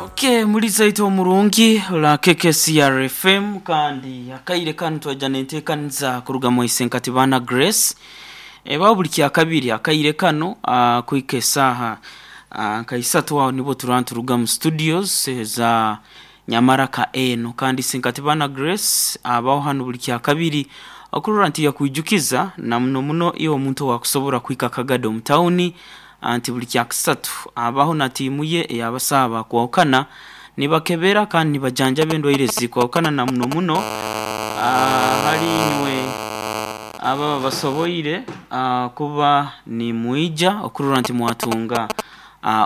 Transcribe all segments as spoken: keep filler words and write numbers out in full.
Okay, muliza itwe omurungi la K K C R F M, kandi akaire kanu twaja nenteekaniza kuruga mu Isenkatibana Grace. Eba buli kyakabiri akaire kano uh, kuhika esaaha uh, nka isatu, aho nibo tuba turuga mu studios za Nyamaraka eno. Kandi Isenkatibana Grace abaho hano buli kyakabiri okurora nti yakwijukiza na muno muno iwe omuntu owakusobora kuhika Kagado omu tawuni, nti buli kyakusatu abaho na tiimu ye ey'abasawo bakwahukana, nibakebera kandi nibajanjaba endwaire ezikwahukana, na muno muno hali inywe ababa basoboire kuba nimwija okurora nti mwatunga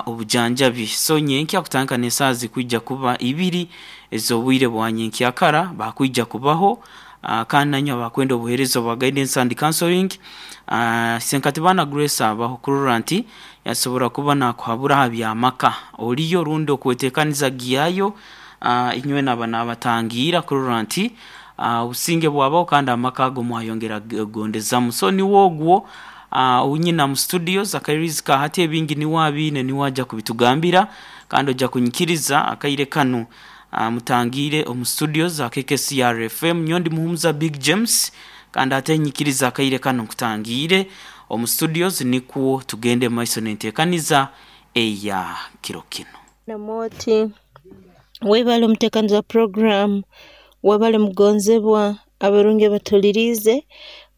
obujanjabi. So nyenkya kutandika n'esaaha zikwija kuba ibiri ez'obwire bwa nyenkyakara bakwija kubaho, kandi nanywe abakwenda obuheereza obwa guidance and counseling, Senkatibana Grace abaho kurora nti yasobora kuba nakuhabura ha by'amaka oliyo rundi okweteekaniza gyayo. Inywe naba nabatangiira kurora nti obusinge bwabaho kandi amaka ago mwayongera kugondezamu. So niwe ogwo owunyina mu studios akairizi ka hati, ebingi niwe abiine, niwe aja kubitugambira, kandi ojja kunyikiriza akaire kanu mutangiire omu studios za K K C R F M. Nyowe ndi Muhumuza Big James, kandi ate nyikiriza akaire kanu nkutangiire omu studios nikwo tugende maiso n'enteekaniza eya kiro kinu. Namoti webale omuteekaniza program, webale mugonzebwa abarungi abatuhuliriize,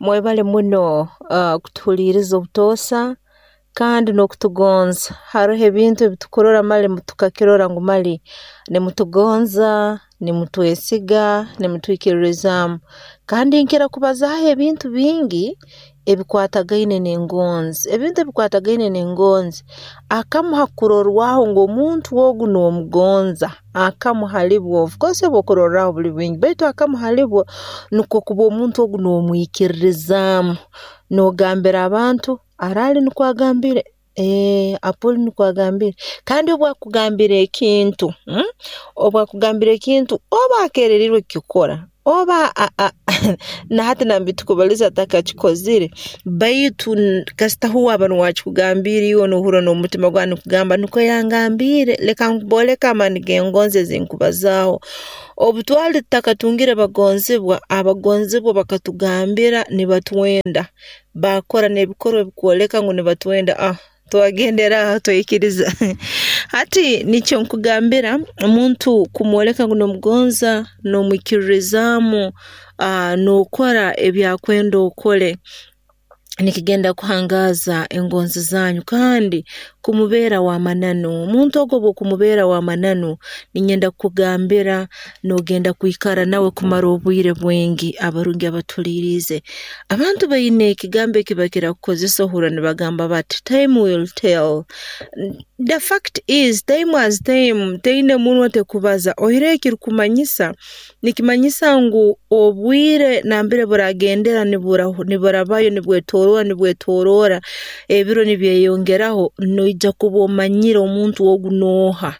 mwebale muno uh, kutuhuliiriza obutoosa kandi n'okutugonza. Haroho ebintu ebi tukurora mali tukakirora ngu mali nimutugonza, nimutwesiga, nimutwikiririzaamu. Kandi nkira kubazaaho ebintu bingi ebikwatagaine n'engonzi. Ebintu ebikwatagaine n'engonzi, akamu ha kurorwaho ngu omuntu ogu noomugonza, akamu hali bwo, of course obwokurorraho buli bwingi, baitu akamu hali bwo nukwo kuba omuntu ogu noomwikiririzaamu, noogambira abantu, araali nukwo agambire, ee Apoli nukwo agambire. Kandi obu akugambira ekintu, hmm, obu akugambira ekintu, oba akereriirwe kukikora, oba na hati nambere tukubaliza atakakikozire, baitu kasita huwe aba nuwe akikugambiire, iwe noohurra n'omutima gwawe nigukugamba nukwo yangambiire, leka mbooleke amaani g'engonzi ezi nkubazaaho. Obu twali tutakatungire bagonzibwa, abagonzibwa bakatugambira nibatwenda, baakora n'ebikorwa ebikwoleka ngu nibatwenda, ah twagendera aho twaikiriza. Hati nikyo nkugambira, omuntu kumwoleka ngu noomugonza, noomwikiririzaamu, nookora ebi akwenda okole, nikigenda kuhangaaza engonzi zanyu kandi kumubeera w'amananu. Omuntu ogu obu okumubeera w'amananu, niinyenda kukugambira noogenda kwikara nawe kumara obwire bwingi. Abarungi abatuhuliiriize, abantu baine ekigambo eki bakira kukozesa, ohurra nibagamba bati, "Time will tell." The fact is, time as time teine munwa, tekubaza. Oihireho ekirukumanyisa, nikimanyisa ngu obwire nambere buragendera niburabayo, nibwetoroora nibwetoroora, ebiro nibyeyongeraho, noija kuba omanyire omuntu ogu nooha.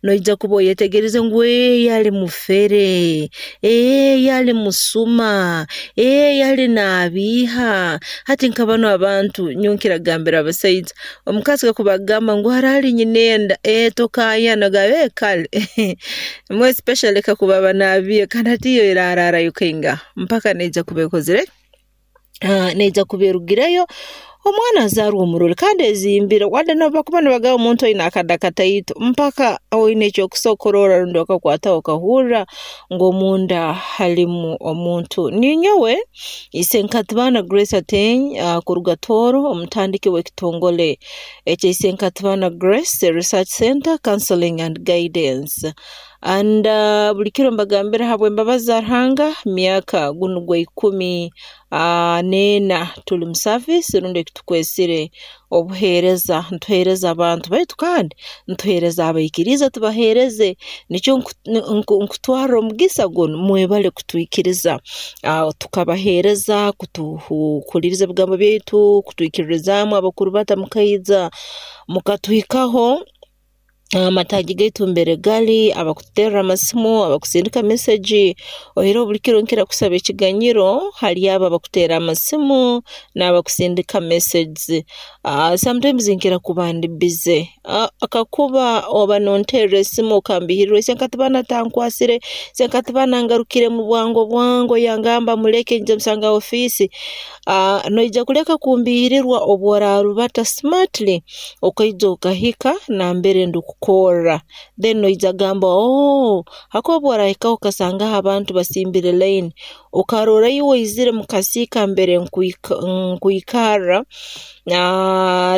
Noija kuba oyetegeriize ngu ee yali mufere, ee yali musuma, ee yali naabiiha. Hati nka banu abantu, nyowe nkira kugambira abasaija, omukazi kakuba akugamba ngu haraali nyina enda, ee tokaayana, ogamba ee kale, more especially kakuba aba naabiiha, kandi hati iyo eraarayo kaingaha mpaka neija kuba ekozire, neija kuba erugireyo, omwana azaarwe omurole kandi ezimbire. Wadde nobu bakuba nibagamba omuntu aine akada kataito, mpaka oine ekyokusobola kurora rundi okakwataho okahurra ngu omunda halimu omuntu. Ninyowe Isenkatibana Grace Ateny kuruga Tooro, omutandiki w'ekitongole ekya Isenkatibana Grace Research Center, Counseling and Guidance. And uh, buli kiro mbagambira, habw'embabazi za Ruhanga, myaka gunu gwa ikumi uh, n'ena tuli mu service rundi ekitukwesire obuheereza, ntuheereza abantu, baitu kandi ntuheereza abaikiriize, tubaheereze. Nikyo nkutwarra omugisa gunu, mwebale kutwikiriza uh, tukabaheereza, kutuhuliiriza ebigambo byaitu, kutwikiririzaamu, abakuru bata mukaija mukatuhikaho. Amataagi gaitu mbere gali, abakututerra amasimu, abakusindika mesegi, oihireho buli kiro nkira kusaba ekiganyiro hali abo abakuteera amasimu n'abakusindika messages. Sometimes nkira kuba ndi busy, kakuba oba nonteerra esimu okambiihirirwa, isenkatibana tankwasire, isenkatibana angarukire mubwango bwango yangamba muleke nyija musanga ha ofiisi, noija kuleka kumbiihirirwa obu orarubata smartly okaija okahika nambere ndukukoorra, then noija kugamba ooh, habwokuba obu orahikaho okasangaho abantu basimbire line, okarora iwe oizire mukasiika nambere nkwikarra,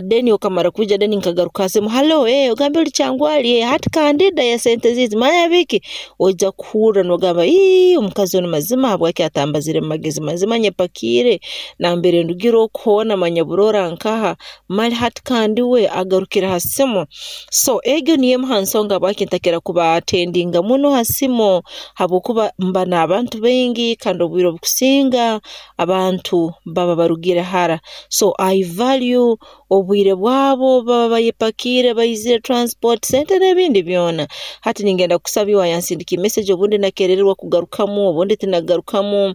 then okamara kwija then nkagaruka ha simu, hello ogambe oli Kyangwali, hati kandida ya sente ziitu manya biki, oija kuhuurra nogamba iii omukazi onu mazima habwaki atambazire mumagezi, mazima nyepakiire nambere ndugire oku hoona manya burora nkaha, mali hati kandi we agarukire ha simu. So egi niyo emu ha nsonga habwaki ntakira kuba attendinga muno ha simu habwokuba mba n'abantu baingi kandi obwiire obukusinga abantu baba barugire hara, so I value obwiire bwaabo obu baba bayepakiire baizire transport, sente n'ebindi byoona. Hati ningenda kukusaba iwe ayansindikiire message obundi nakeerererwa kugarukamu, obundi tinagarukamu,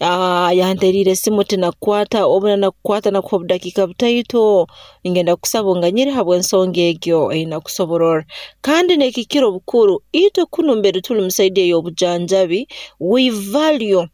ayanteriire esimu tinakukwata, obu nakukwata nakuha obudakiika butaito, ningenda kukusaba onganyire habw'ensonga egyo eyinakusobororra. Kandi n'ekikukira obukuru, itwe kunu mbere tuli mu side ey'obujanjabi, we value,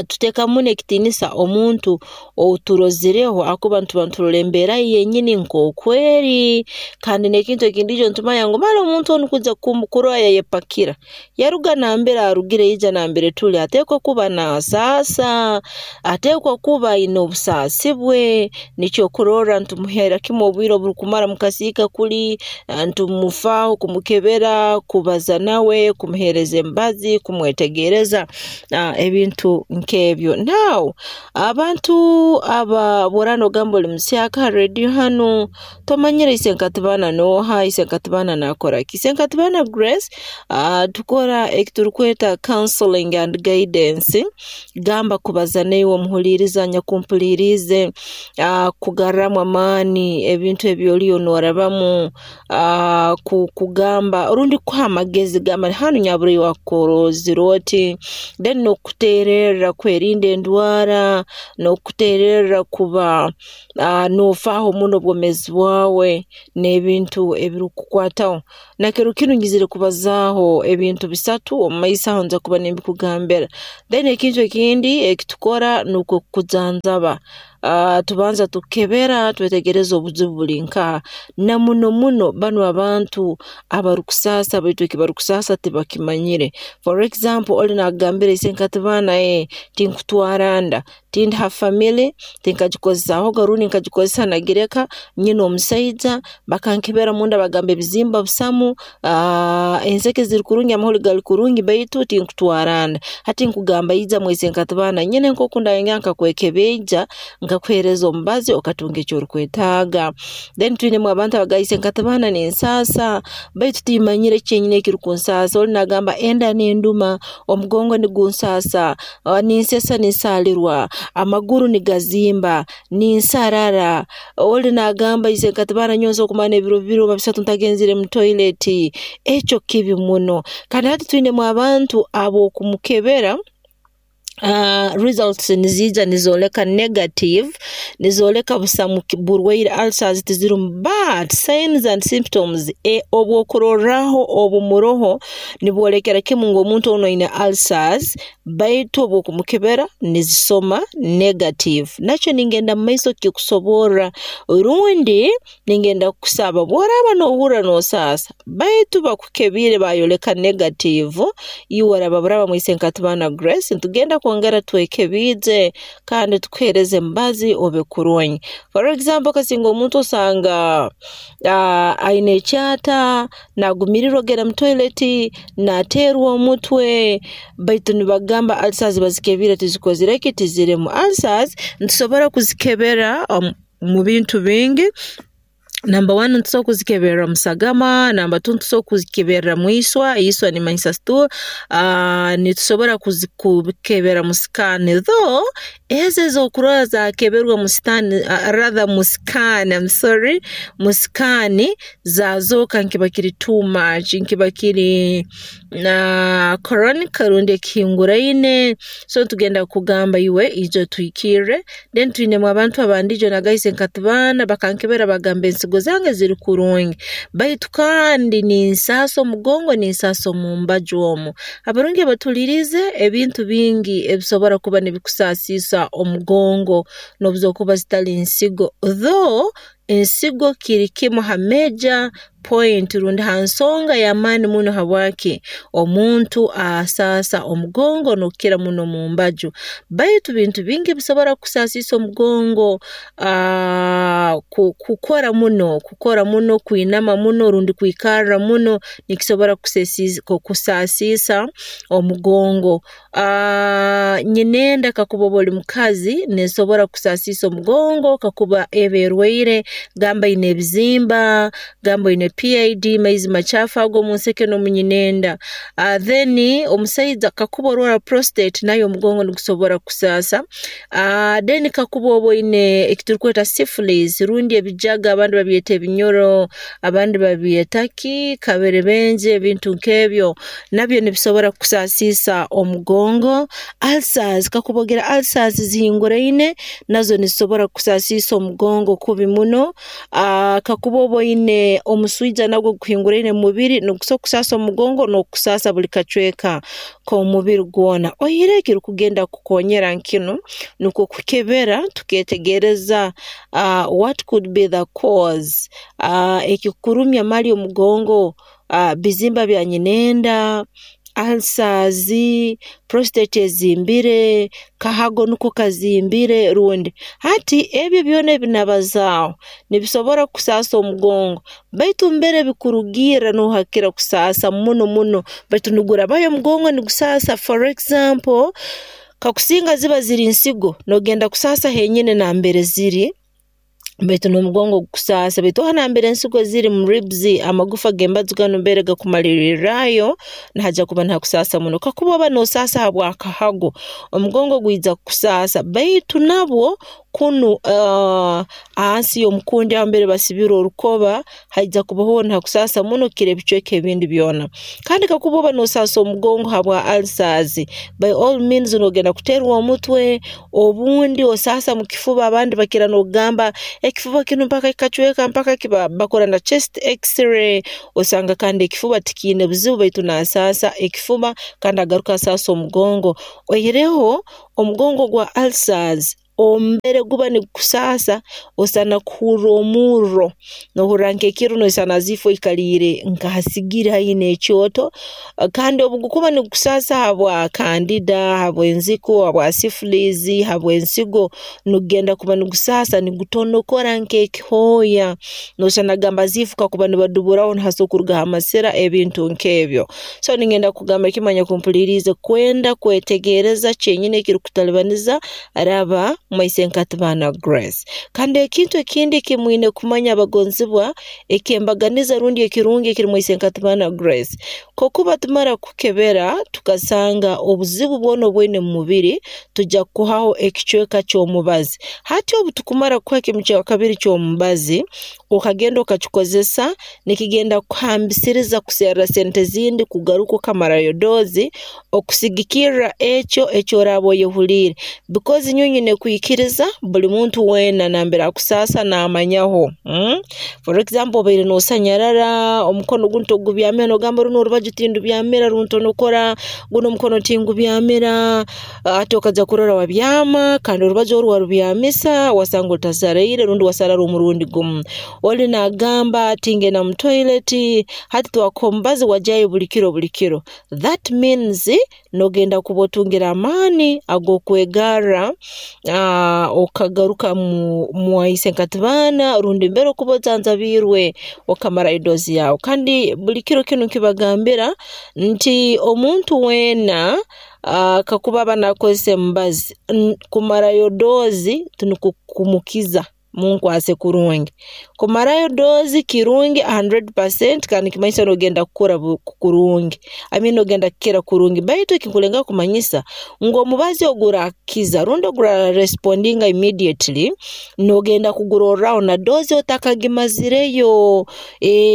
tuteekamu muno ekitiinisa omuntu ou turozireho habwokuba nituba niturora embeera ye yenyini nkooku eri, kandi n'ekintu ekindi nitumanya ngu mali omuntu onu kwija kurora yayepakira, yaruga nambere arugire yaija nambere tuli, ateekwa kuba nasaasa, ateekwa kuba aine obusaasi bwe, nikyo okurorra nitumuheera kimu obwire oburukumara mukasiika kuli, nitumufaaho kumukebera, kubaza nawe, kumuheereza emibazi, kumwetegeereza, ebintu nk'ebyo. Now abantu aba obu oraaba nogamba oli muhyaka ha radio hanu, tomanyire isenkatibana nooha, isenkatibana naakora ki, Isenkatibana Grace tukora eki turukweta counselling and guidance, gamba kubaza naiwe omuhuliiriza anyakumpuliriize, kukugarraamu amaani ebintu ebi oliyo norabamu, kukugamba rundi kukuha amagezi gamba hanu nyabura iwe wakuroozere oti, then n'okukuteererra kwerinda endwara, n'okukuteererra kuba noofaaho muno obwoomeezi bwaawe n'ebintu ebirukukukwataho. Na kiro kinu nyizire kubazaaho ebintu bisatu, mumaiso aho ninjya kuba nimbikugambira. Then ekintu ekindi eki tukora nukwo kukujanjaba, tubanza tukukebera twetegereza obuzibu buli nkaha, na muno muno banu abantu abarukusaasa baitu eki barukusaasa tibakimanyire. For example, oli nakugambira isenkatibana tinkutwaara nda, tindi ha family, tinkagikozesaahoga rundi nkagikozesa nagireka, nyine omusaija, bakankebera munda bagamba ebizimba busamu, enseke ziri kurungi, amahuri gali kurungi baitu tinkutwaara nda. Hati nkugamba ija mwa isenkatibana nyine nkoku ndayongera nkakwekebiija, nkakuheereza omubazi okatunga eki orukwetaaga. Then twinemu abantu abagamba isenkatibana ninsaasa baitu timmanyire kyenyini ekirukunsaasa, oli nagamba enda nenduma, omugongo nigunsaasa, ninsesa ninsaalirwa, amaguru nigazimba, ninsarara, oli nagamba isenkatibana nyowe nsobora kumara n'ebiro bibiri rundi bisatu ntagenzere mu toilet, ekyo kibi muno. Kandi hati twinemu abantu abu okumukebera, results niziija nizooleka negative, nizooleka busamu burwaire ulcers tizirumu but signs and symptoms obwokurorraho obumuroho nibwolekera kimu ngu omuntu onu aine ulcers baitu obu okumukebera nizisoma negative. Nakyo ningenda mumaiso kukikusoborra rundi ningenda kukusaba obu oraaba nohuurra nosaasa baitu bakukebiire bayoleka negative, iwe oraba buraba mwa isenkatibana Grace nitugenda kwongera twekebiije kandi tukuheereze emibazi obe kurungi. For example kasinga omuntu osanga aine ekyata, nagumiirirwa kugenda mu toilet, nateerwa omutwe, baitu nibagamba ulcers bazikebiire tizikozire ki, tizirumu. Ulcers nitusobora kuzikebera mu bintu bingi, number one nitusobora kuzikeberra mu sagama, number two nitusobora kuzikeberra mwiiswa, eiswa nimmanyisa stool, nitusobora kuzikebera mu scan though Ezo ez'okurora zaakeberwa mu sitani rather mu scan, I'm sorry, mu scan zaazooka nkiba kiri too much, nkiba kiri chronic rundi ekihinguraine, so ntugenda kukugamba iwe ija otuhikirre. Then twinemu abantu abandi ijo nagamba isenkatibaana bakankebera bagamba ensigo zange ziri kurungi, baitu kandi ninsaasa omugongo, ninsaasa omu mbaju omu. Abarungi abatuhuliiriize, ebintu bingi ebisobora kuba nibikusaasiisa omugongo n'obu zookuba zitali nsigo, though ensigo kiri kimu ha major point rundi ha nsonga y'amaani muno habwaki omuntu asaasa omugongo n'okukira muno mu mbaju, baitu bintu bingi ebisobora kukusaasiisa omugongo, kukora muno, kukora muno, kwinama muno rundi kwikarra muno nikisobora kukusaasiisa omugongo. Nyinenda kakuba oba oli mukazi neesobora kukusaasiisa omugongo kakuba eba erwaire, gamba oine ebizimba, gamba oine P I D, maizi macaafu ago omu nseke n'omu nyinenda. Then omusaija kakuba orwaara prostate, nayo omugongo nigusobora kukusaasa. Then kakuba oba oine eki turukweta syphilis rundi ebijaga, abandi babyeta ebinyoro, abandi babyeta ki, kaberebenje, ebintu nk'ebyo nabyo nibisobora kukusaasiisa omugongo. Ulcers, kakuba ogira ulcers zihinguraine, nazo nizisobora kukusaasiisa omugongo kubi muno. Kakuba oba oine omuswija nagwo gukuhinguraine mu mubiri, nigusobora kukusaasa omugongo n'okusaasa buli kacweka k'omubiri gwona. Oihireho ekirukugenda kukukoonyera nkinu nukwo kukebera tukeetegereza what could be the cause, ekikukurumya mali omugongo bizimba bya nyinenda, ulcers, prostate ezimbire, kahago nuko kazimbire rundi. Hati ebi byoona ebi nabazaaho nibisobora kukusaasa omugongo, baitu mbere bikurugirra nooha akukira kusaasa muno muno, baitu nigurabayo omugongo nigusaasa. For example, kakusinga ziba ziri nsigo, noogenda kusaasa henyini nambere ziri, baitu n'omugongo gukusaasa, baitu aho nambere ensigo ziri mu ribs, amagufa g'embaju ganu mbere gakumaliriirrayo, nihaija kuba nihakusaasa muno. Kakuba oba noosaasa habw'akahago, omugongo gwija kukusaasa, baitu nabwo kunu hansi y'omukundi aho mbere basibire orukoba haija kubaho nihakusaasa muno kukira ebicweka ebindi byona. Kandi kakuba oba noosaasa omugongo habwa ulcers, by all means noogenda kuteerwa omutwe, obundi osaasa mu kifuba, abandi bakira n'okugamba ekifuba kinu mpaka kikacweka, mpaka bakora na chest x-ray, osanga kandi ekifuba tikiine buzibu, baitu naasaasa ekifuba kandi agaruka asaasa omugongo. Oihireho omugongo gwa ulcers mbere guba nigukusaasa, osana kuhurra omurro, noohurra nk'ekiro noisana as if oikaliire nka ha sigiri haihi n'ekyoto. Kandi obu gukuba nigukusaasa habwa candida, habw'enziku, habwa syphilis, habw'ensigo, nigugenda kuba nigusaasa nigutonokora nk'ekihooya, noosana gamba as if kakuba nibaduburaho nihasobora kurugaho amasira, ebintu nk'ebyo. So ningenda kugamba kimu anyakumpuliriize, kwenda kwetegereza kyenyini ekirukutalibaniza, raba Maisenkatibana Grace. Kandi ekintu ekindi eki mwine kumanya abagonzibwa, eky'embaganiza rundi ekirungi ekiri Maisenkatibana Grace, kakuba tumara kukebera tukasanga obuzibu bwona obwoine mu mubiri, tujja kukuhaho ekicweka ky'omubazi. Hati obu tukumara kukuha kimu kya kabiri ky'omubazi, okagenda okakikozesa, nikigenda kukuhambisiriza kuserra sente zindi kugaruka okamarayo doozi okusigikirra ekyo eki oraaba oyehuliire, because nyowe nyine kwikiriza buli muntu weena nambere akusaasa naamanyaho. For example, obaire noosanyarara, omukono gunu togubyamira, noogamba runu orubaju tindubyamira runtonokora, gunu omukono tingubyamira, hati okaija kurora wabyama kandi orubaju oru warubyamisa, wasanga otasaraire rundi wasarara omurundi gumu. Oli naagamba tingenda mu toilet, hati twakuha omubazi wajyayo buli kiro buli kiro. That means noogenda kuba otungire amaani ag'okwegarra okagaruka mu Isenkatibaana rundi mbere okuba ojanjabiirwe okamarayo doozi yaawe. Kandi buli kiro kinu nkibagambira nti omuntu weena kakuba aba naakozesa emibazi, kumarayo doozi tinukwo kumukiza. Munkwase kurungi. Kumarayo dose kirungi hundred percent kandi nikimanyisa noogenda kukora kurungi, I mean noogenda kukira kurungi. Baitu ekinkulengaho kumanyisa ngu omubazi oguraakukiza rundi ogurarespondinga immediately, noogenda kugurorraaho na dose otakagimazireyo.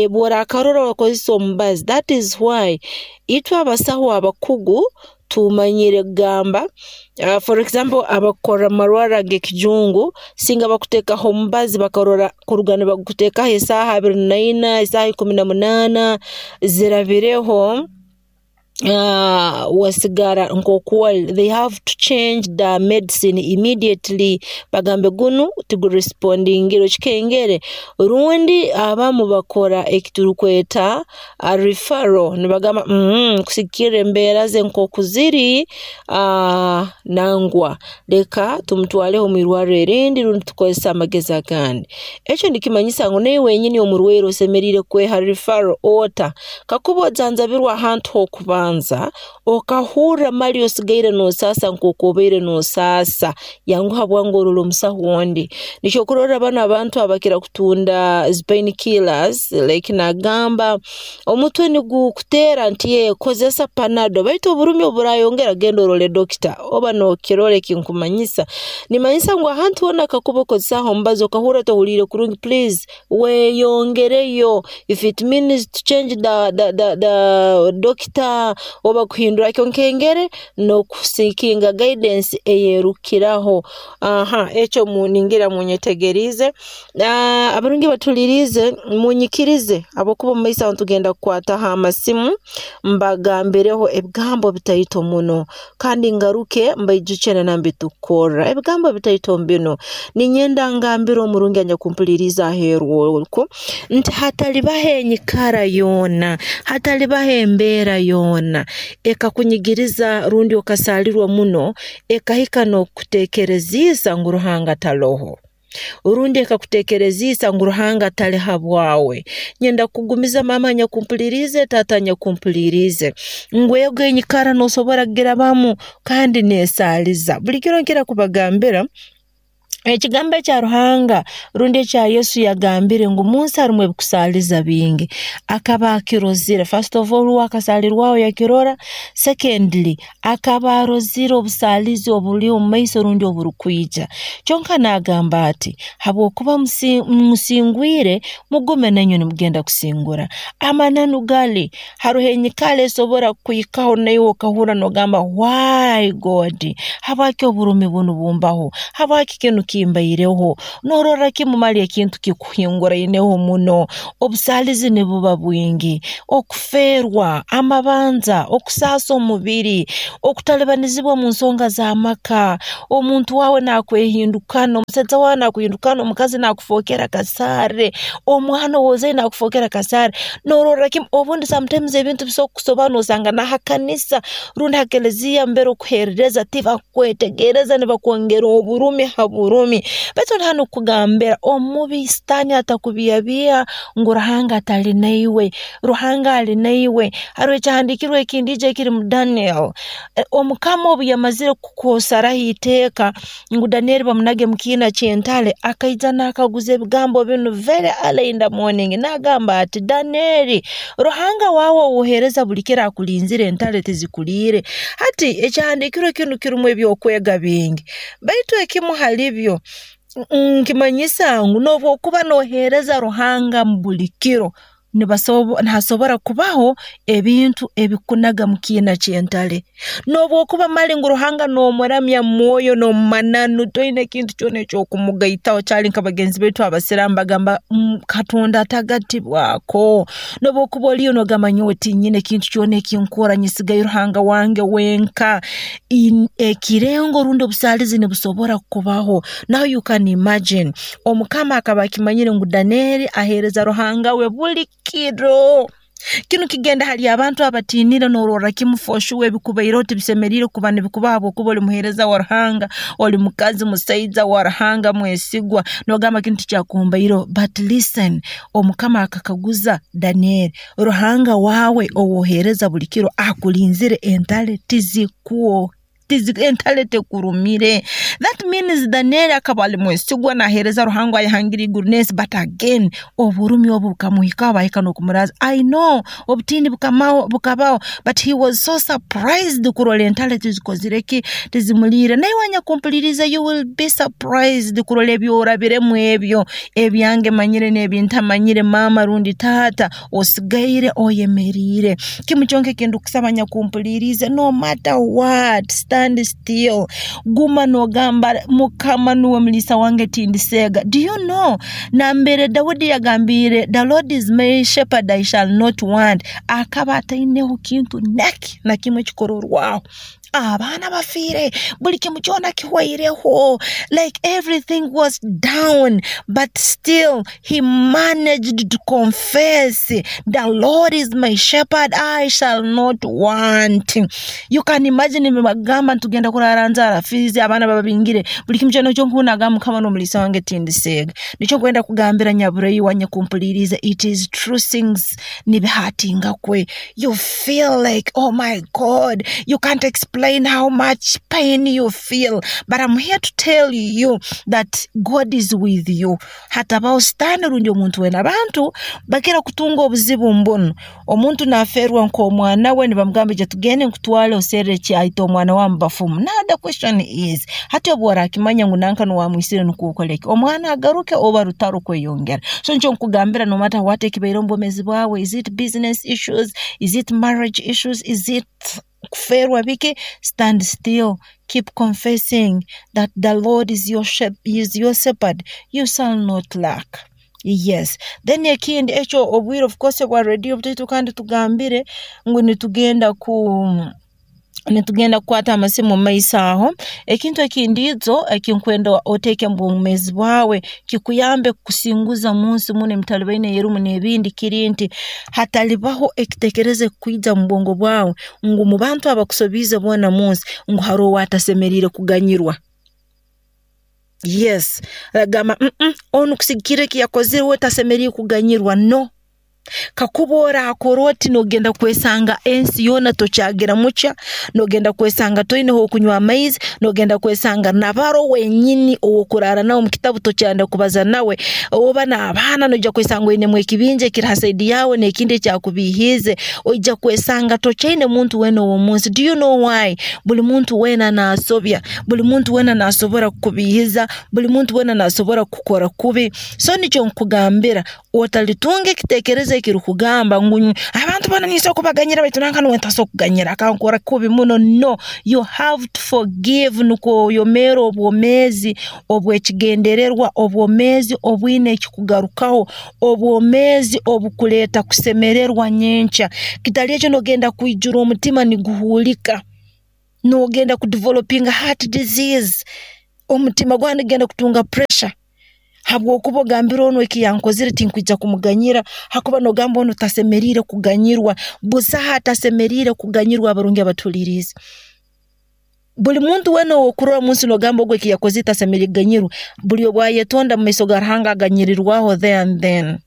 Obu oraakarora wakozesa omubazi, that is why itwe abasaho abakugu tumanyire kugamba, for example abakukorra mu marwarro ag'ekijungu, singa bakuteekaho omubazi bakarora kuruga nibaguteekaho esaaha abiri naina, esaaha ikumi na munaana zirabireho, wasigara nkooku oli, they have to change the medicine immediately, bagambe gunu tigurespondingire okikengere, rundi abamu bakora eki turukweta referral nibagamba kusigikirra embeera ze nkooku ziri, nangwa leka tumutwaleho mwirwarro erindi rundi tukozese amagezi agandi. Eki nikimanyisa ngu naiwe wenyini omurwaire osemeriire kweha referral ota? Kakuba ojanjabirwe ahantu h'okubanza, okahurra mali osigaire noosaasa nkooku obaire noosaasa, yanguha bwangu orole omusaho ondi. Nikyo okurorra banu abantu abakira kutunda zi pain killers, like naagamba omutwe nigukuteera nti ee kozesa panado, baitu oburumi obu buraayongera genda orole doctor, oba nookirora eki nkumanyisa. Nimmanyisa ngu ahantu hoona kakuba okozesaaho omubazi okahurra tohuliire kurungi, please weeyongereyo, if it means to change the, the, the, the doctor oba kuhindura nkengere n'okuseekinga guidance eyeerukukiraho. Aha ekyo ningira munyetegeriize. Abarungi abatuhuliiriize munyikirize habwokuba omumaiso aho nitugenda kukwataho amasimu mbagambireho ebigambo bitaito muno, kandi ngaruke mbaijukye na nambere tukukorra. Ebigambo bitaito binu, ninyenda ngambire omurungi anyakumpuliriize aheeru oku nti hatalibaho enyikara yoona, hatalibaho embeera yoona ekakunyigiriza rundi okasaalirwa muno, ekahika n'okukuteekereziisa ngu Ruhanga taloho, rundi ekakuteekereziisa ngu Ruhanga tali habwawe. Nyenda kukugumiza maama anyakumpuliriize, taata anyakumpuliriize, ngu ego enyikara noosobora kugirabamu kandi neesaaliza. Buli kiro nkira kubagambira ekigambo ekya Ruhanga rundi ekya Yesu yagambire ngu munsi harumu ebikusaaliza bingi, akaba akirozire. First of all uwe akasaalirwaho yakirora, secondly akaba arozire obusaalizi obuli omumaiso rundi oburukwija. Kyonka naagamba ati habwokuba musingwire, mugume nainywe nimugenda kusingura. Amananu gali haroho enyikara esobora kukuhikaho naiwe okahurra noogamba why God, habwaki oburumi bunu bumbaho, habwaki kinu kimbaireho, noororra kimu mali ekintu kikuhinguraineho muno, obusaalizi nibuba bwingi, okufeerwa, amabanja, okusaasa omubiri, okutalibanizibwa mu nsonga z'amaka, omuntu waawe naakwehindukana, omusaija waawe naakuhindukana, omukazi naakufookera kasaare, omwana ou ozaire naakufookera kasaare, noororra kimu obundi sometimes ebintu bisobora kukusobaho noosanga na ha kanisa rundi ha keleziya mbere okuheerereza tibakukwetegereza nibakwongera oburumi ha burumi. Baitu ndi hanu kukugambira omubi Sitaani atakubiihabiiha ngu Ruhanga tali naiwe, Ruhanga ali naiwe. Haroho ekyahandiikirwe ekindi ekiri mu Daniel, omukama obu yamazire kusaraho iteeka ngu Danieri bamunage mu kiina ky'entale, akaija naakaguza ebigambo binu very early in the morning, naagamba ati Danieri, Ruhanga waawe ou oheereza buli kiro akulinzire entale tizikuliire. Hati ekyahandiikirwe kinu kirumu ebyokwega bingi, baitu ekimu hali byo nkimanyisa ngu noobu okuba nooheereza Ruhanga buli kiro, nihasobora kubaho ebintu ebikukunaga mu kiina ky'entale. Noobu okuba mali ngu Ruhanga noomuramya mu mwoyo n'omu mananu, toine kintu kyona eky'okumugaitaho kyali nka bagenzi baitu abasiraamu bagamba Katonda atagatibwako. Noobu okuba oliyo noogamba nyowe tinyine kintu kyona eki nkora, nyesigayo Ruhanga wange wenka, ekirengo rundi obusaalizi nibusobora kukubaho. Now you can imagine, omukama akaba akimanyire ngu Danieri aheereza Ruhanga we buli kiro. Kinu kigenda hali abantu abatiinire noororra kimu for sure ebikubaireho tibisemeriire kuba nibikubaho habwokuba oli muheereza wa Ruhanga, oli mukazi musaija wa Ruhanga mwesigwa, noogamba kinu tikyakumbaireho. But listen, omukama akakaguza Danieri, Ruhanga waawe ou oheereza buli kiro akulinzire entale tizikwoke. Entale tekurumire. That means Daniel akaba ali mwesigwa, naheereza Ruhanga ayahangire iguru n'ensi, but again oburumi obu bukamuhikaho, bahika n'okumuraza. I know obutindi bukamaho bukabaho, but he was so surprised kurora entale tizikozire ki, tizimuliire. Naiwe anyakumpuliriza, you will be surprised kurora ebyorabiremu ebyo, ebyange manyire n'ebintamanyire, maama rundi taata, osigaire oyemeriire. Kimu kyonka ekindukusaba anyakumpuliriize, no matter what, stand still. Guma n'ogamba Mukama nuwe muliisa wange, tindiseega. Do you know nambere Dawudi yagambiire, the Lord is my shepherd, I shall not want, akaba ataineho kintu naki na kimu ekikororwaho. Abaana bafiire, buli kimu kyona kihwaireho, like everything was down, but still he managed to confess, the Lord is my shepherd, I shall not want. You can imagine nibagamba ntugenda kurara nzara, fizi abaana bababingire, buli kimu kyona ekyo nkunagamba Mukama n'omuliisa wange tindiseega. Nikyo nkwenda kugambira nyabureyi wanyakumpuliriza, it is true things nibihatinga kwe. You feel like, oh my God, you can't explain how much pain you feel, but I'm here to tell you that God is with you. Hatabaho sitaani rundi omuntu wena. Abantu bakira kutunga obuzibu mbuno, omuntu naferwa nk'omwana we, nibamugamba ija tugende nkutwale oserre ekyahita omwana wa mubafumu. Now the question is, hati obu orakimanya ngu nanka nuwamwisire nukwo okoleki, omwana agaruke oba rutaro kweyongera? So nikyo nkugambira, no matter what ekibaire omu bwomeezi bwawe, is it business issues, is it marriage issues, is it kuferwa biki, stand still, keep confessing that the Lord is your shep, is your shepherd, you shall not lack. Yes. Then ekindi ekyo, obwire of course bwa radio butaitu, kandi tugambire ngu nitugenda ku nitugenda kukwata amasimu mu maiso aho. Ekintu ekindiizo ekinkwenda oteeke mu bwomeezi bwawe kikuyambe kukusinguza munsi muno emitalibaine eyerumu n'ebindi, kiri nti hatalibaho ekiteekerezo ekukwija mu bwongo bwawe ngu mu bantu abakusobiize boona munsi ngu haroho owatasemeriire kuganyirwa. Yes, agamba mm -mm, onu kusigikira eki yakozire we tasemeriire kuganyirwa. No, kakuba orakora oti, nogenda kwesanga ensi yoona tokyagira mukya, nogenda kwesanga toineho okunywa amaizi, nogenda kwesanga nabaro wenyini ow'okurara nawe omu kitabu tokyenda kubaza nawe, oba n'abaana noija kwesanga oinemu ekibinja ekiri ha side yawe n'ekindi ekyakubiihiize, oija kwesanga tokyaine muntu weena ow'omunsi. Do you know why? Buli muntu weena naasobya, buli muntu weena naasobora kukubiihiza, buli muntu weena naasobora kukukora kubi. So nikyo nkugambira, otalitunga ekiteekerezo ekirukugamba ngu abantu boona ninsobola kubaganyira baitu nanka nuwe ntasobora kuganyira, akankora kubi muno. No, you have to forgive nukwo oyomeere obwomeezi obw'ekigendererwa, obwomeezi obwine ekikugarukaho, obwomeezi obukuleeta kusemererwa nyenkya. Kitali ekyo, nogenda kwijura omutima niguhuulika, nogenda kudevelopinga heart disease, omutima gwawe nigugenda kutunga pressure, habwokuba ogambire onu eki yankozire tinkwija kumuganyira, hakuba nogamba onu tasemeriire kuganyirwa. Busaho atasemeriire kuganyirwa. Abarungi abatuhuliriize, buli muntu weena ow'okurora munsi nogamba ogu eki yakozire tasemeriire kuganyirwa, buli obu ayetonda mu maiso ga Ruhanga aganyirirwaho there and then.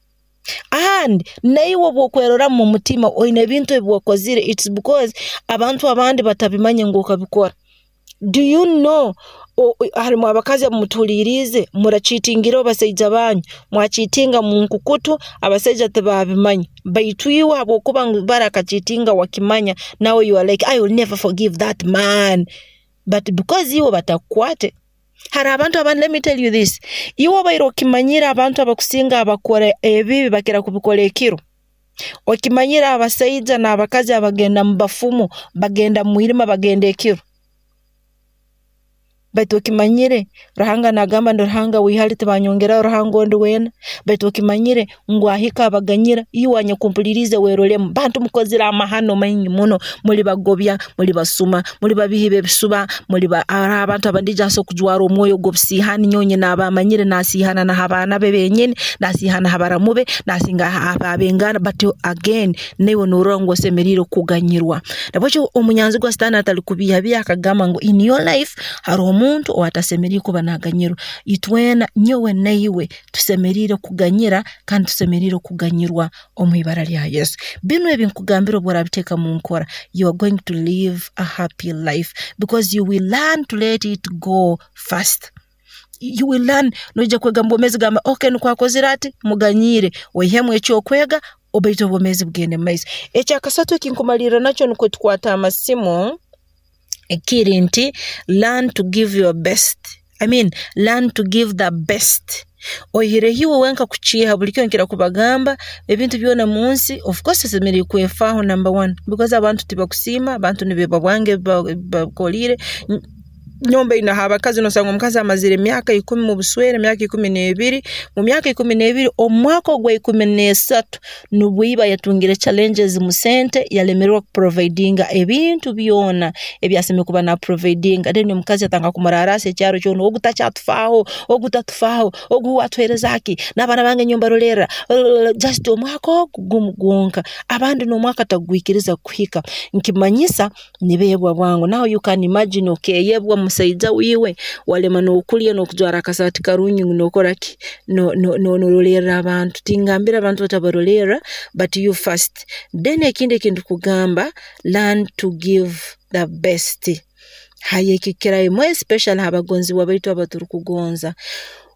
And naiwe obu okweroramu mu mutima oine ebintu ebi wakozire, it's because abantu abandi batabimanye ngu okabikora. Do you know harimu abakazi abumutuhuliiriize murakiitingireho basaija banyu, mwakiitinga mu nkukutu, abasaija tibabimanya, baitu iwe habwokuba ngu bara akakiitinga wakimanya, nawe you are like, I will never forgive that man, but because iwe batakukwate. Hari abantu abandi, let me tell you this, iwe obaire okimanyire abantu abakusinga abakora ebibi bakira kubikora ekiro. Okimanyire abasaija n'abakazi abagenda mu bafumu bagenda mu mwirima, bagenda ekiro. Baitu okimanyire Ruhanga nagamba ndi Ruhanga wihali, tibanyongeraho Ruhanga ondi weena. Baitu okimanyire ngu ahika abaganyira. Iwe anyakumpuliriize werolemu, bantu mukozire amahano maingi muno, muli bagobya, muli basuma, muli babihi b'ebisuba, muli ba hariho abantu abandija asobola kujwara omwoyo gw'obusiihani. Nyowe naaba amanyire nasiihana na h'abaana be benyini, nasiihana ha baramu be, nasinga ab'enganda, but again naiwe norora ngu osemeriire kuganyirwa. Nabwekyo omunyanzigwa sitaani atalikubiihabiiha akagamba ngu in your life haroho omuntu Omuntu owatasemeriire kuba naaganyirwa. Itwena, nyowe naiwe, tusemeriire kuganyira kandi tusemeriire kuganyirwa omu ibara lya Yesu. Binu ebi nkugambire obu oraabiteeka mu nkora, you are going to live a happy life because you will learn to let it go fast. You will learn, noija kwega mu bwomeezi gamba okay nukwo akozire ati, muganyiire, oihemu eky'okwega baitu obwomeezi bugende mu maiso. Ekyakasatu ekinkumalirra nakyo nukwo tukwate amasimu, kiri nti learn to give your best. I mean, learn to give the best. Oihireho iwe wenka kukiiha buli kiro nkira kubagamba ebintu byona mu nsi, of course osemeriire kwefaaho number one because abantu tibakusiima, abantu nibeebwa bwange ebi bakukoliire. Nyowe mbainaho abakazi noosanga omukazi amazire emyaka ikumi mu buswere, emyaka ikumi n'ebiri, mu myaka ikumi n'ebiri, omu mwaka ogwa ikumi n'esatu nubwo iba yatungire challenges mu sente yalemererwa kuprovidinga ebintu byona ebi asemeriire kuba naprovidinga. Then omukazi yatandika kumuraraasa ekyaro kyona, ogu takyatufaaho, ogu tatufaaho, ogu uwe atuheereza ki, n'abaana bange nyowe mbarolerra, just omwaka ogu gumu gwonka. Abandi n'omwaka tagwikiriza kuhika. Nkimanyisa nibeebwa bwangu. Now you can imagine okeeyebwa musaija wiiwe, walema n'okulya n'okujwara akasaati karungi ngu nookora ki, noorolerra abantu. Tingambire abantu batabarolerra, but you first. Then ekindi eki ndukugamba, learn to give the best. Haya eki kukirayo more especially ha bagonzibwa baitu abaturukugonza.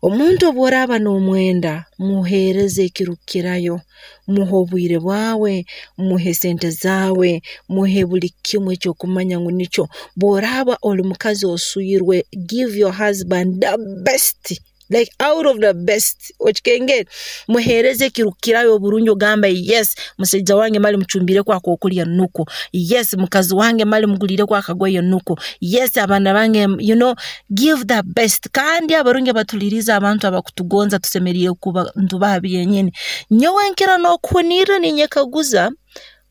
Omuntu obu oraaba noomwenda, muheereze ekirukukirayo, muhe obwire bwawe, muhe sente zaawe, muhe buli kimu eki okumanya ngu nikyo. Bw'oraaba oli mukazi oswirwe, give your husband the best, like out of the best, okikengere? Muheereze ekirukukirayo oburungi ogambe yes, musaija wange mali mucumbiireko ak'okulya nukwo, yes mukazi wange mali muguliireko akagoye nukwo, yes abaana bange, you know, give the best. Kandi abarungi abatuliiriza abantu abakutugonza tusemeriire kuba nitubaha byenyini. Nyowe nkira n'okuhunirra ninyekaguza,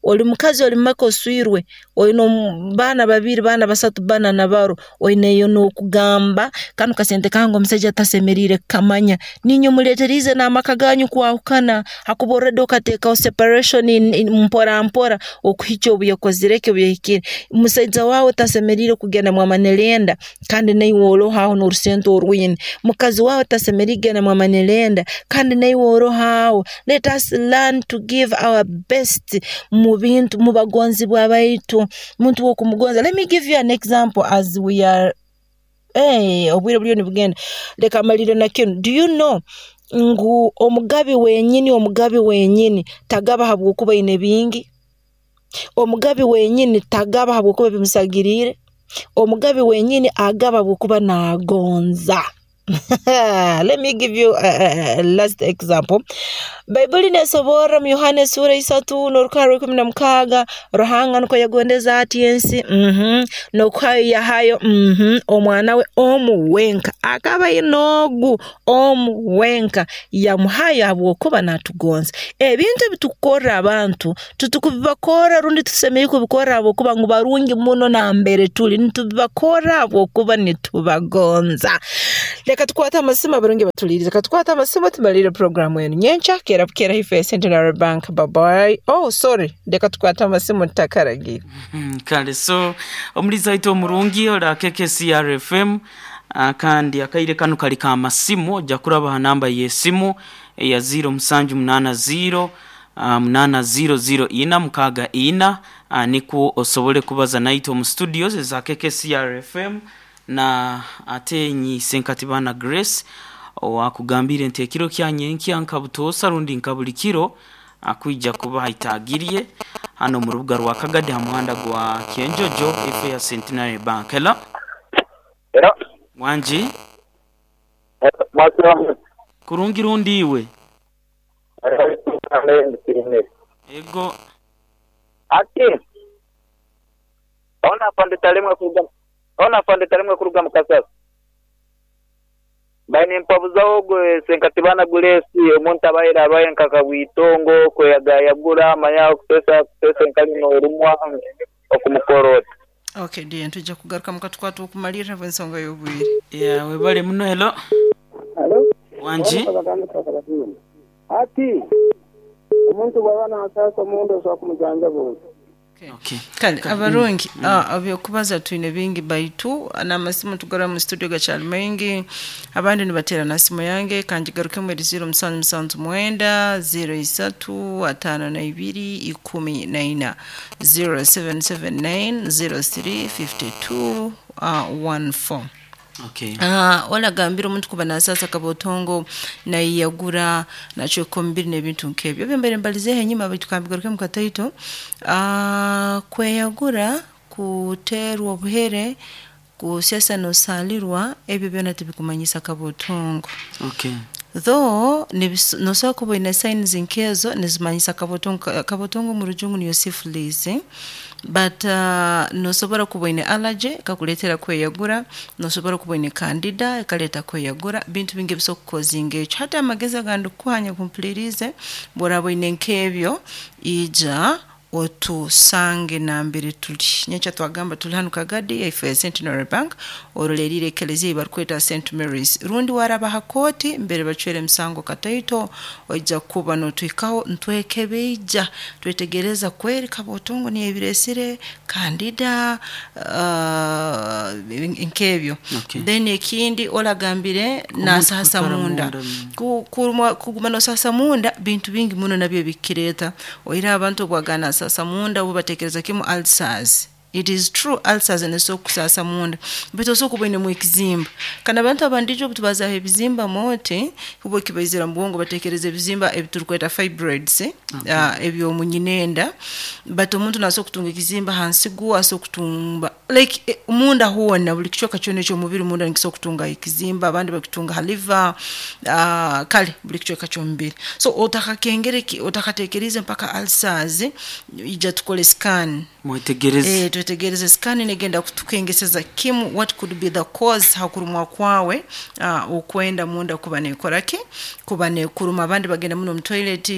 oli mukazi oli mumaka oswirwe, oine baana babiri, baana basatu, bana na baro, oineyo n'okugamba kanu kasente kange omusaija tasemeriire kukamanya, niinywe muleeteriize n'amaka ganyu kwahukana hakuba already okateekaho separation mpora mpora okuhikya obu yakozire ki, obu yahikire. Musaija waawe tasemeriire kugenda mwamanelenda kandi naiwe oroho aho n'orusente orwine. Mukazi waawe tasemeriire kugenda mwamanelenda kandi naiwe oroho aho. Let us learn to give our best mu bintu, mu bagonzibwa baitu. Muntu w'okumugonza. Let me give you an example as we are, hey, obwire buliyo nibugenda. Leka malire na kinu. Do you know ngu omugabi wenyini, omugabi wenyini tagaba habwokuba aine bingi? Omugabi wenyini tagaba habwokuba bimusagiriire. Omugabi wenyini agaba habwokuba naagonza. Let me give you a, a, a last example. Baibuli neesoborra mu Yohana esuura isatu n'orukarra ikumi na mukaaga, Ruhanga nukwo yagondeze ati ensi, mhm, n'okuhayo yahayo, mhm, omwana we omu wenka. Akaba aine ogu omu wenka, yamuhayo habwokuba naatugonza. Ebintu ebi tukukorra abantu, titukubibakorra rundi tusemeriire kubikorra habwokuba ngu barungi muno nambere tuli, nitubibakorra habwokuba nitubagonza. Leka tukwate amasimu abarungi batuliirize. Leka tukwate amasimu tumalire programu enu. Nyenkya keera bukeera ife Centenary Bank. Bye bye. Oh, sorry. Leka tukwate amasimu tutakaragiire. Kale so omulizi waitu omurungi ora K K C R F M, ah, kandi akaire kanu kali ka masimu. Ojja kuraba ha namba y'esimu eya zero seven eight zero eight zero zero ina mukaaga ina, ah, nikwo osobole kubaza naitwe omu studios eza K K C R F M. Na ate nyi Senkatibana Grace owakugambire nti ekiro kya nyenkya nka butoosa rundi nka buli kiro akwija kuba haitagirye hano mu rubuga rwa Kagadi ha muhanda gwa Kyenjojo efe ya Centenary Bank. Hello. Era wanji. Mwasiramu. Kurungi rundi iwe? Ego. Ati ona afande talemwe kuruga, ona afande talemwe kuruga mukasasa baine mpabuzaho gwe Senkatibana Gulesi. Omuntu abaire abaye nkakabwitongo kweyagayagura manya okutesa kutesa enkali n'orumwa okumukorota. Okay, ndiye tujja kugaruka mukatukwata okumalirira ensonga y'obwire. Yeah, webale muno. Hello. Halo. Wanji. Ati omuntu bw'aba n'asaasa omuntu osobola kumujanjaba oti? Okay. Kale abarungi ah, ebyokubaza twine bingi baitu n'amasimu tugara mu studio gakyali maingi abandi nibatera na simu yange kangigarukemu eri ziro musanju musanju mwenda ziro isatu atano na ibiri ikumi na ina zero seven seven nine zero three fifty two one four. Okay. Ah, olagambira omuntu kuba nasasa kabotongo naiyagura nachweka omubiri n'ebintu nk'ebyo ebyo mbere mbalizeho enyuma baitu kambigaruke mu kataito. Ah, kweyagura kuterwa obuhere kusesa nosalirwa ebyo byona tibikumanyisa kabotongo. Okay. Though nibis- nosobola kuba oine signs nkezo nizimanyisa kabotongo. Kabotongo mu rujungu niyo syphilis, eh? But uh, nosobola kuba oine allergy ekakuleetera kweyagura, nosobola kuba oine candida ekaleeta kweyagura, bintu bingi ebisobola kukozinga ekyo. Hati amagezi agandi kukuhanya kumpulirize bworaba oine nk'ebyo ija otusange nambere tuli. Nyenkya twagamba tuli hanu Kagadi yaife ya Centenary Bank orolerire ekelezia barikweta Saint Mary's, rundi waraba ha kooti mbere bacwere emisango kataito oija kuba notuhikaho ntwekebeija twetegereza kweri kabotongo niyo ebiresire candida uh, nk'ebyo. Okay. Then ekindi olagambire nasasa kwikara munda. munda, mm. Ku- kurumwa- kuguma nosasa munda bintu bingi muno nabyo bikireta oira abantu obwagana sasa munda bo batekereza kimu ulcers. It is true, ulcers neso kusasa munda bito so kuba mu ekizimba kana abantu abandijo obutubazaho ebizimba mote kubo kibaizira mu bwongo batekereza ebizimba ebiturukweta fibroids, eh? Okay. Uh, ebyo munyinenda but omuntu naso kutunga ekizimba hansi gu aso kutumba like eh, munda hona buli kichweka kyona eky'omubiri munda nikiso kutunga ekizimba abandi bakitunga ha liver, uh, kale buli kichweka ky'omubiri. So otakakengere ki- otakatekereze mpaka ulcers, ija tukole scan. Mwetegereze. Eh, twetegereze scan negenda kutukengeseza kimu what could be the cause hakurumwa kwawe uh, okwenda munda kuba nekoraki kuba nekuruma. Abandi bagenda muno mu toilet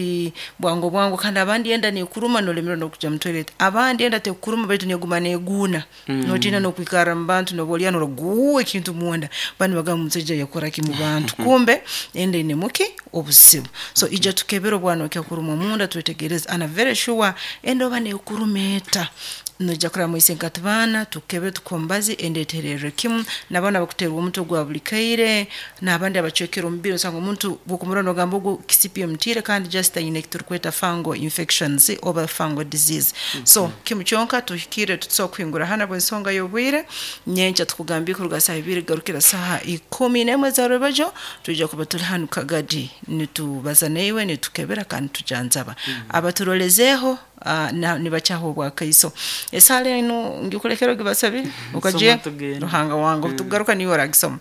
bwango bwango kandi abandi enda nekuruma nolemerwa nokuja mu toilet, abandi enda tekuruma baitu neguma neguna mm. notina nokwikara mu bantu nobolya noguwa ekintu munda bandi bagamba omusajja yakoraki mu bantu kumbe enda inemuki obuzibu. So ija tukebera obwana okyakuruma munda twetegereze ana very sure enda oba nekuruma eta noija kuraba mwise nkatubana tukebe tukombazi endeterere kimu nabana bakuterwa omutwe gwa buli kaire n'abandi abacwekera omubiri osanga omuntu bwokumurora nogamba ogu kisipi omutiire kandi just aine ekiturukweta fungal infections oba fungal disease. So kimu kyonka tuhikire tutusobola kuhingura hana bw'ensonga y'obwire nyenkya tukugambye kuruga saaha ibiri garukira saaha ikumi n'emwe za rwebajo twija kuba turi hanu Kagadi nitubaza naiwe nitukebera kandi tujanjaba abaturolezeeho uh, na- nibakyaho obwakaiso esaala eno ngikulekera ogibasabire okaje tugende. Ruhanga wange obutugaruka niwe oragisoma.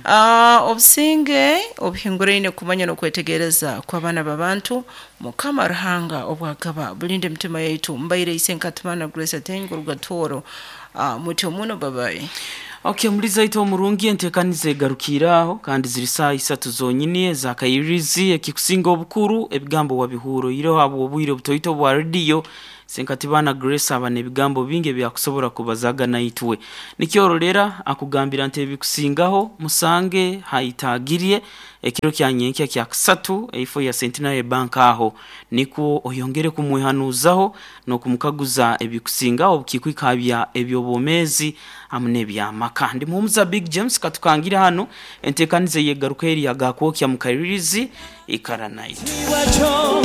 Ah, obusinge obuhinguraine kumanya n'okwetegereza kw'abaana b'abantu Mukama Ruhanga obwagaba bulinde emitima yaitu mbaire ise nkatumana Grace Atengo Rugatoro. uh, mutyo muno babayi. Okay, muri zaito omurungi entekaniza egarukiraho kandi ziri saa isatu zonyini ezakayirizi ekikusinga obukuru ebigambo wabihuro ireho abo obwire obutoito bwa radio Senkatibana Grace aba n'ebigambo bingi ebyakusobora kubazaga naitwe nikyorolera akugambira nti ebikusingaho musange haitagirie ekiro kya nyenkya kya kusatu eifo ya Centenary Bank aho niko oyongere kumwihanuzaho n'okumukaguza ebikusingaho obukikwikabya ebyobomezi hamwe n'ebyamaka. Ndi muhumuza Big James katukangira hano entekanize yegaruka eri yagakwokya mu Kairirizi ikara naitwe. Iwacho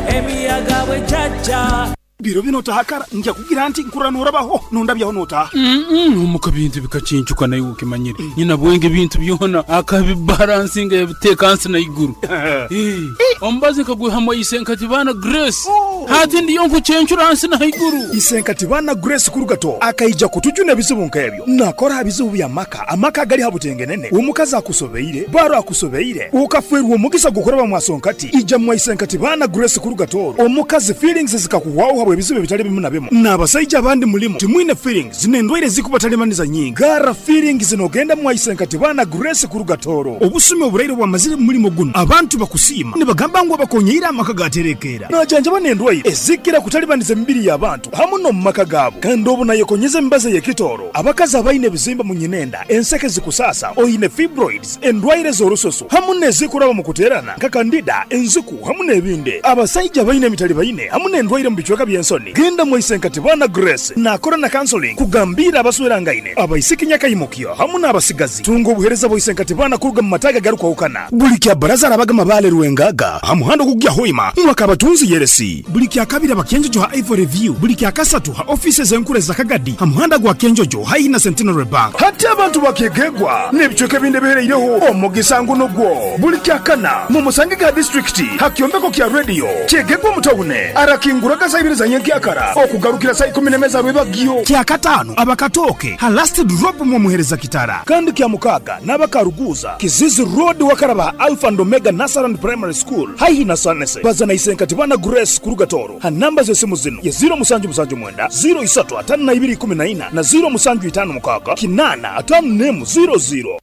emiyaga bwe jajja Biro bino tahakara nja kugira nti nkurra norabaho nondabyaho notaha. Omuka bintu bikacincuka naye ukimanyire nyina bwenge bintu byona akabibalansinga yabiteeka nsi na iguru. Eh, omubazi nkagwihamu Isenkatibana Grace hati ndiyo nkucencura nsi na iguru. Isenkatibana Grace kurugato akaija kutujuna ebizibu nk'ebyo nakora bizibu bya maka amaka gali habutengenene omukazi akusobeire baro akusobeire ukafwerwa omugisa gukoraba mwasonkati ija mwa Isenkatibana Grace kurugato omukazi feelings zikakuwawo habwe ebizibu ebitali bimu na bimu n'abasajja abandi mulimu timwine feelings n'endwaire zikubatalimanisa nyingi gara feelings nogenda mwa Isenkatibana Grace kurugatoro obusumi oburaire bwamazire mu mulimo guno abantu bakusiima nibagamba ngu abakonyeire amaka gaterekeera najanjaba n'endwaire. endwaire ezikira kutalibaniza emibiri y'abantu hamu n'omu maka gaabo. Kandi obu nayekonyeza emibazi ey'ekitooro, abakazi abaine ebizimba mu nyinenda, enseke zikusasa, oine fibroids, endwaire z'orususu hamu n'ezikuraba mu kuteerana nka kandida, enziku hamu n'ebindi. Abasaija baine emitali baine hamu n'endwaire mu bicweka by'ensoni, genda mwaisenkati bana Grace nakora na counseling kugambira abaswerangaine, abaisiki nyakaimukyo hamu n'abasigazi. Tunga obuheereza bwaisenkati bana kuruga mu mataga garukwahukana. Buli kya baraza arabaga mabale rwengaga ha muhanda ogugya Hoima mwaka abatunzi yeresi. Buli kya kabiri abakenjojo ha Ivory View, buli kya kasatu ha office z'enkura za Kagadi ha muhanda gwa Kenjojo haihi na Centenary Bank. Hati abantu bakegegwa n'ebicweka ebindi ebihereireho omugisa nguno gwo. Buli kya kana mu musange ga district ha kyombeko kya radio kyegegwa mutawune arakinguraga saa ibiri za nyenkyakara okugarukira saa ikumi n'emeza rwebagyo. Kya katano abakatoke ha last drop mu muhereza kitara. Kandi kya mukaga n'abakaruguza Kizizi Road wakaraba Alpha and Omega Nursery Primary School haihi na Sanese. Baza na isenkati bana Grace kuruga Toro ha namba z'esimu zino ye zero musanju musanju mwenda zero isatu atano na ibiri ikumi na ina na zero musanju itano mukaga kinana atano nemu zero zero.